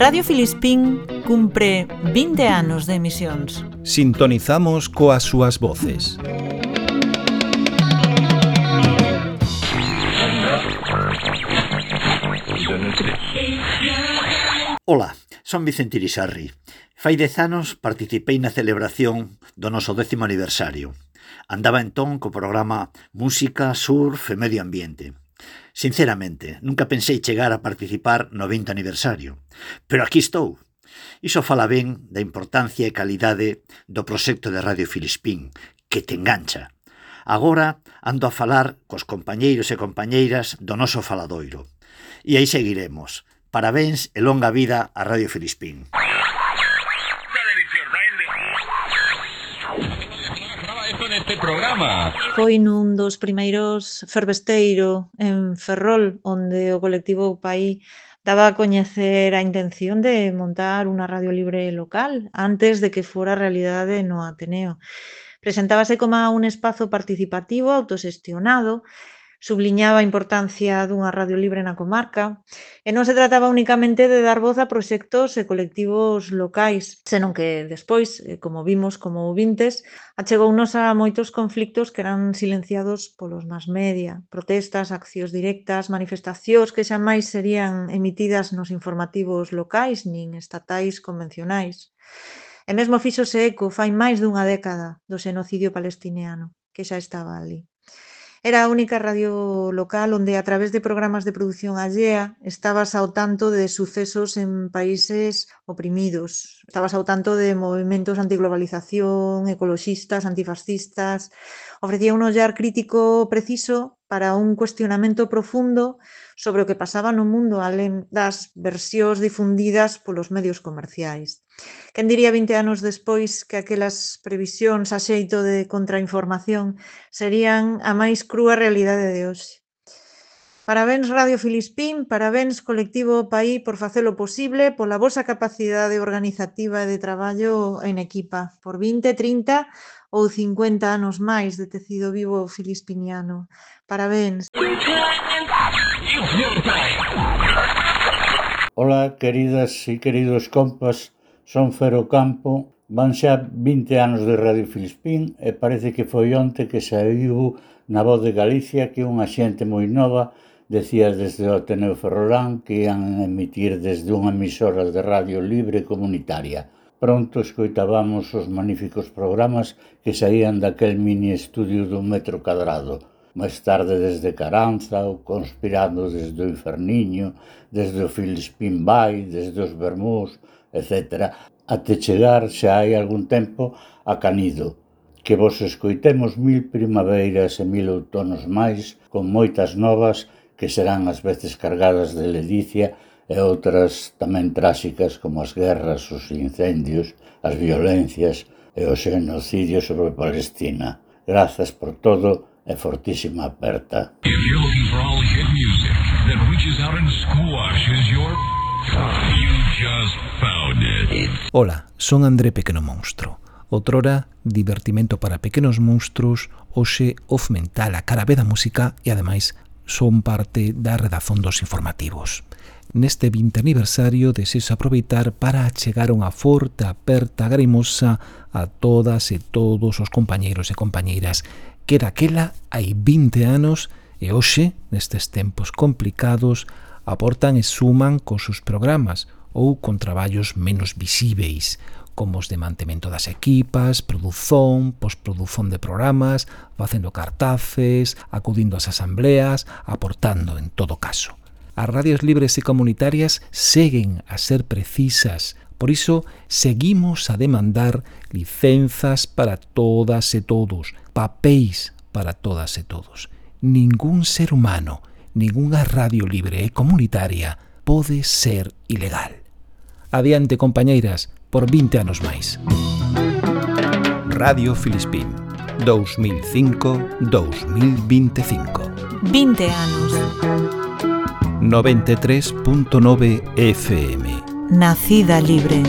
Radio Filispín cumpre 20 anos de emisións. Sintonizamos coas súas voces. Ola, son Vicente Irisarri. Fai 10 anos participei na celebración do noso 10º aniversario. Andaba entón co programa Música, Surf e Medio Ambiente. Sinceramente, nunca pensei chegar a participar no 20 aniversario. Pero aquí estou. Iso fala ben da importancia e calidade do proxecto de Radio Filispín, que te engancha. Agora ando a falar cos compañeiros e compañeiras do noso faladoiro. E aí seguiremos. Parabéns e longa vida a Radio Filispín. Foi nun dos primeiros fervesteiro en Ferrol, onde o colectivo Paí daba a coñecer a intención de montar unha radio libre local antes de que fora realidade no Ateneo. Presentábase como un espazo participativo, autoxestionado, subliñaba a importancia dunha radio libre na comarca e non se trataba únicamente de dar voz a proxectos e colectivos locais, senón que despois, como vimos como ouvintes, achegounos a moitos conflictos que eran silenciados polos mass media, protestas, accións directas, manifestacións que xa máis serían emitidas nos informativos locais nin estatais convencionais. E mesmo fíxose eco fai máis dunha década do xenocidio palestiniano, que xa estaba ali. Era a única radio local onde, a través de programas de produción allea, estabas ao tanto de sucesos en países oprimidos. Estabas ao tanto de movimentos antiglobalización, ecoloxistas, antifascistas. Ofrecía un ollar crítico preciso para un cuestionamento profundo sobre o que pasaba no mundo alén das versións difundidas polos medios comerciais. Quen diría 20 anos despois que aquelas previsións a xeito de contrainformación serían a máis crúa realidade de hoxe. Parabéns Radio Filispín, parabéns Colectivo Paí por facelo posible, pola vosa capacidade organizativa e de traballo en equipa, por 20, 30 ou 50 anos máis de tecido vivo filispiniano. Parabéns. Ola, queridas e queridos compas, son Fero Campo, van xa 20 anos de Radio Filispín e parece que foi onte que saiu na Voz de Galicia que unha xente moi nova decía desde o Ateneo Ferrolán que ian emitir desde unha emisora de radio libre comunitaria. Pronto escoitábamos os magníficos programas que saían daquel mini estudio dun metro cadrado. Máis tarde desde Caranza, ou Conspirando desde o Inferniño, desde o Filispín Bay, desde os Bermús, etc. Até chegar, xa hai algún tempo, a Canido. Que vos escoitemos 1000 primaveiras e 1000 outonos máis, con moitas novas que serán ás veces cargadas de ledicia e outras tamén tráxicas como as guerras, os incendios, as violencias e o xenocidio sobre Palestina. Grazas por todo e fortísima aperta. Ola, son André Pequeno Monstro. Outrora, divertimento para pequenos monstruos, hoxe off mental a cara B da música e, ademais, son parte da redazón dos informativos. Neste 20 aniversario desexo aproveitar para achegar unha forte aperta grimosa a todas e todos os compañeiros e compañeiras que daquela hai 20 anos e hoxe, nestes tempos complicados, aportan e suman cos seus programas ou con traballos menos visíveis, como os de mantemento das equipas, produción, postprodución de programas, facendo cartaces, acudindo ás asambleas, aportando en todo caso. As radios libres e comunitarias seguen a ser precisas, por iso seguimos a demandar licenzas para todas e todos, papéis para todas e todos. Ningún ser humano, ningunha radio libre e comunitaria pode ser ilegal. Adiante, compañeiras, por 20 anos máis. Radio Filispín, 2005-2025. 20 anos. 93.9 FM. Nacida libre.